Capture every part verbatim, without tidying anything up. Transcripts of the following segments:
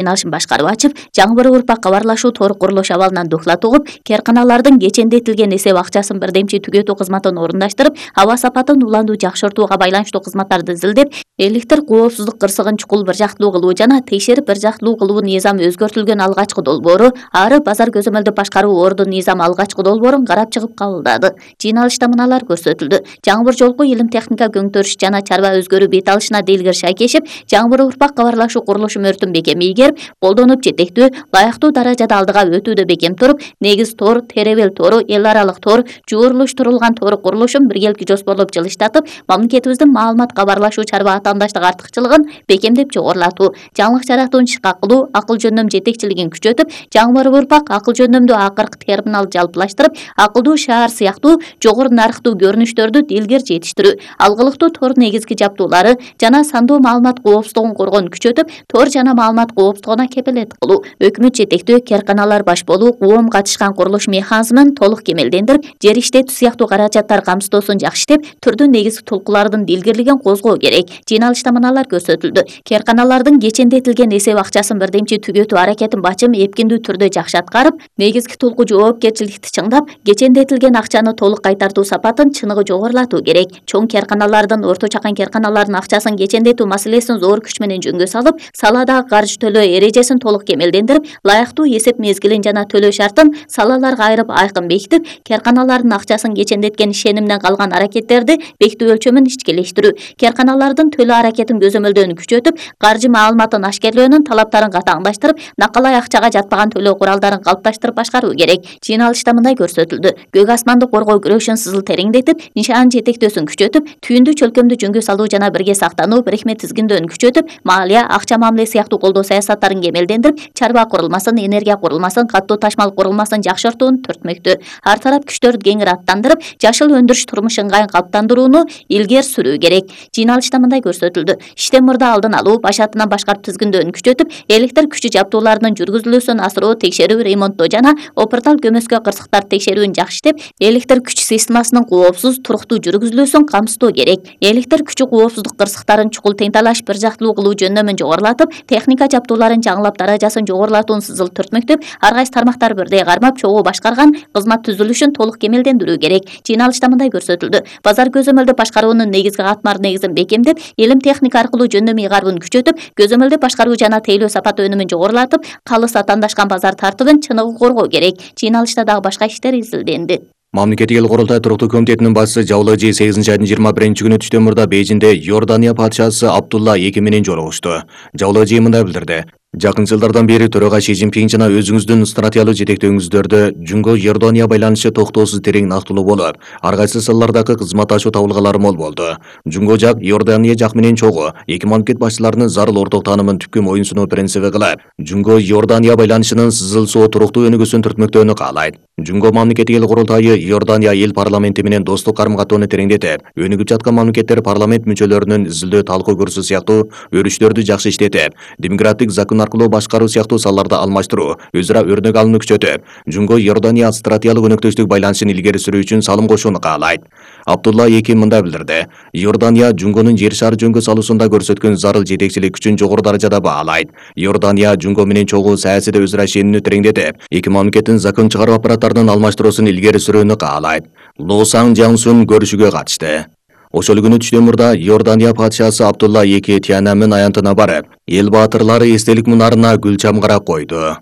Жыйналышын башкарып ачып, жаңы бір урпак кабарлашуу тор курулуш абалынан духлат угуп, керканалардын кечендетилген эсеп акчасын бирдемчи түгөтүү кызматын орундаштырып, аба сапатын улануу жакшыртууга байланыштуу кызматтарды изилдеп, электр коопсуздук кырсыгын чукул бир жактылуу кылуу жана текшерип бир жактылуу кылуу низамы өзгөртүлгөн алгачкы долбоору, ары базар көзөмөлдү башкаруу ордун низамы алгачкы долбоорун карап чыгып кабылдады. Жыйналышта мыналар көрсөтүлдү. Жаңы бір жолку илим техника көңтөрүш жана чарба өзгөрүү бет алышына Делгир Шайкешев жаңы бір урпак кабарлашуу курулушу мөртүн бекем ийгерип, колдонуп жетектүү, лайыктуу даражада алдыга өтүүдө бекем туруп, негиз тор, теребел тору, эл аралык тор, жуурурлуштурулган тор курулушун биргелки жоспорлоп жылыштатып, мамлекетибиздин маалымат кабарлашуу чарба атаандаштык артыкчылыгын бекемдеп жогорулатуу, жаңылык жаратууну ишке кылуу, акыл жөндөм жетекчилигин күчөтүп, жаңы бір урпак акыл жөндөмдүү акыркы терминал жалпылаштырып, акылдуу шаар сыяктуу жогору нарыктуу көрүнүштөрдү илгери жетиштирүү, алгылыктуу тор негизги жаптуулары жана сандуу маалымат коопсуздугун коргоону күчөтүп, тор жана маалымат коопсуздугуна кепилет кылуу, өкмөт жетектүү керканалар баш болуу, коом катышкан курулуш механизмин толук кемелдендирип, жер иштетүү сыяктуу каражаттар камсыздоосун жакшы иштеп, түрдүү негизги толкулардын дилгирлигин козгоо керек. Жыйналышта мыналар көрсөтүлдү. Керканалардын кечендетилген эсеп акчасын бирдемчи түгөтүү аракетин бачым эпкиндүү түрдө жакшы аткарып, негизги толку жоопкерчиликти чыңдап, кечендетилген акчаны толук кайтартуу сапатын чыныгы жогорулатуу керек. Чоң керканалардын, орто чакан керканалардын акчасын кечендетүү маселесин зор күч менен жөнгө салып, саладагы каржы төлөө эрежесин толук кемелдендирип, лайыктуу эсеп мезгилин жана төлөө шартын салаларга айырып айкын бекитип, керканалардын акчасын кечендеткен ишенимден калган аракеттерди бекитүү өлчөмүн ичкелештирүү, керканалардын төлөө аракетин көзөмөлдөөнү күчөтүп, каржы маалыматын ашкерлөөнүн талаптарын катаңдаштырып, накалай акчага жатпаган төлөө куралдарын калыпташтырып башкаруу керек. Жыйналышта мындай көрсөтүлдү. Көк асманды коргоо күрөшүн сызыл тереңдетип, нишан жетектөөсүн күчөтүп, түйүндү чөлкөмдү жөнгө салуу жана бирге сактануу, бирикме тизгиндөөнү күчөтүп, малия, акча мамиле сыяктуу колдоо саясаттарын кемелдендирип, чарба курулмасын, энергия курулмасын, каттуу ташмал курулмасын жакшыртууну төртмөктү. Ар тарап күчтөрдү кеңири аттандырып, жашыл өндүрүш турмуш ыңгайын калыптандырууну илгери сүрүү керек. Жыйналышта мындай көрсөтүлдү. Иштен мурда алдын алуу, баш атынан башкарып тизгиндөөнү күчөтүп, электр күчү жаптууларынын жүргүзүлүүсүн асыруу, текшерүү, ремонттоо жана опыртал көмөскө кырсыктарды текшерүүнү жакшы иштеп, электр күч системасынын коопсуз, туруктуу жүргүзүлүүсүн камсыздоо керек. Электр күчү коопсуздук кырсыктарын чукул тең талаш бир жактылуу кылуу жөндөмүн жогорулатып, техника жаптууларын жаңылап даражасын жогорулатууну сызыл түртмөктөп, ар кайсы тармактар бирдей кармап, чогуу башкарган кызмат түзүлүшүн толук кемелдендирүү керек. Жыйналышта мындай көрсөтүлдү. Базар көзөмөлдү башкаруунун негизги катмар негизин бекемдеп, илим техника аркылуу жөндөм ыйгарууну күчөтүп, көзөмөлдү башкаруу жана тейлөө сапаты өнүмүн жогорулатып, калыс атаандашкан базар тартыбын чыныгы коргоо керек. Жыйналышта дагы башка иштер изилденди. Мамлекеттик эл курултай туруктуу комитетинин башчысы Жабыл Эжи сегизинчи айдын жыйырма биринчи күнү түштөн мурда Бейжиңде Иордания падышасы Абдулла эки менен жолугушту. Жабыл Эжи мындай билдирди. Жакын жылдардан бери төрага Ши Цзиньпин жана өзүңүздүн стратегиялык жетектөөңүздөрдө Жунго Иордания байланышы токтоосуз терең нактылуу болуп, ар кайсы салалардагы кызматташуу табылгалары мол болду. Жунго жак Иордания жак менен чогуу эки мамлекет башчыларынын зарыл орток таанымын түпкү моюнсунуу принциби кылып, Жунго Иордания байланышынын сызылсоо туруктуу өнүгүүсүн түртмөктөөнү каалайт. Жунго мамлекеттик эл курултайы Иордания эл парламенти менен достук карым-катоону тереңдетип, өнүгүп жаткан мамлекеттер парламент мүчөлөрүнүн изилдөө талкуу көрсө сыяктуу өрүштөрдү жакшы иштетип, демократик закон аркылуу башкаруу сыяктуу салаларда алмаштыруу, өзара өрнөк алууну күчөтүп, Жунго Иордания стратегиялык өнөктөштүк байланышын илгери сүрүү үчүн салым кошууну каалайт. Абдулла эки мындай билдирди. Иордания Жунгонун жер шары жөнгө салуусунда көрсөткөн зарыл жетекчилик күчүн жогору даражада баалайт. Иордания Жунго менен чогуу саясийде өзара ишенимдүү тереңдетип, эки мамлекеттин закон чыгаруу аппараттарынын алмаштыруусун илгери сүрүүнү каалайт. Ло Сан Жаңсун көрүшүгө катышты. Ошол күнү түштөн мурда Иордания падышасы Абдулла эки Тианамын аянтына барып, эл баатырлары эстелик мунарына гүл чамгарак койду.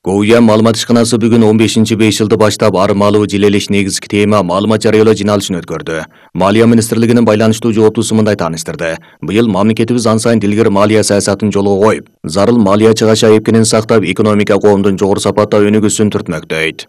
Гоуя маалымат ишканасы бүгүн он бешинчи беш жылды баштап ары маалуу жилелеш негизги тема маалымат жарыялоо жыйналышын өткөрдү. Малия министрлигинин байланыштуу жооптусу мындай тааныштырды. Быйыл мамлекетибиз ан сайын дилгер малия саясатын жолго коюп, зарыл малия чыгаша эпкинин сактап, экономика коомдун жогору сапатта өнүгүүсүн түртмөктөйт.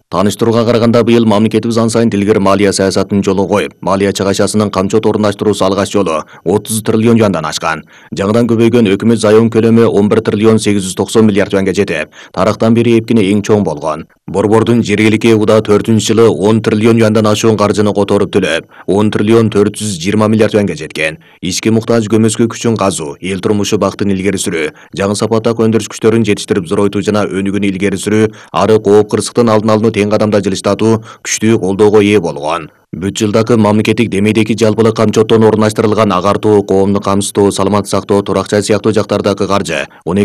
Таныштырууга караганда быйыл мамлекетибиз ан сайын дилгер малия саясатын жолго коюп, малия чыгашасынын камчот орундаштыруусу алгач жолу отуз триллион юандан ашкан. Жаңыдан көбөйгөн өкмөт зайом көлөмү он бир триллион сегиз жүз токсон миллиард юанга жетип, тарыхтан бери эпкини эң чоң болгон. Борбордун жергиликтүү уда төртүнчү жылы он триллион юандан ашуун каржыны которуп төлөп, он триллион төрт жүз жыйырма миллиард юанга жеткен. Ички муктаж көмөскө күчүн казуу, эл турмушу бактын илгери сүрүү, жаңы сапаттагы өндүрүш күчтөрүн жетиштирип зоройтуу жана өнүгүүнү илгери сүрүү, ары кооп кырсыктын алдын алууну тең кадамда жылыштатуу күчтүү колдоого ээ болгон. Бүт жылдагы мамлекеттик демейдеги жалпылык камчоттон орундаштырылган агартуу, коомду камсыздоо, саламаттык сактоо, турак жай сыяктуу жактардагы каржы он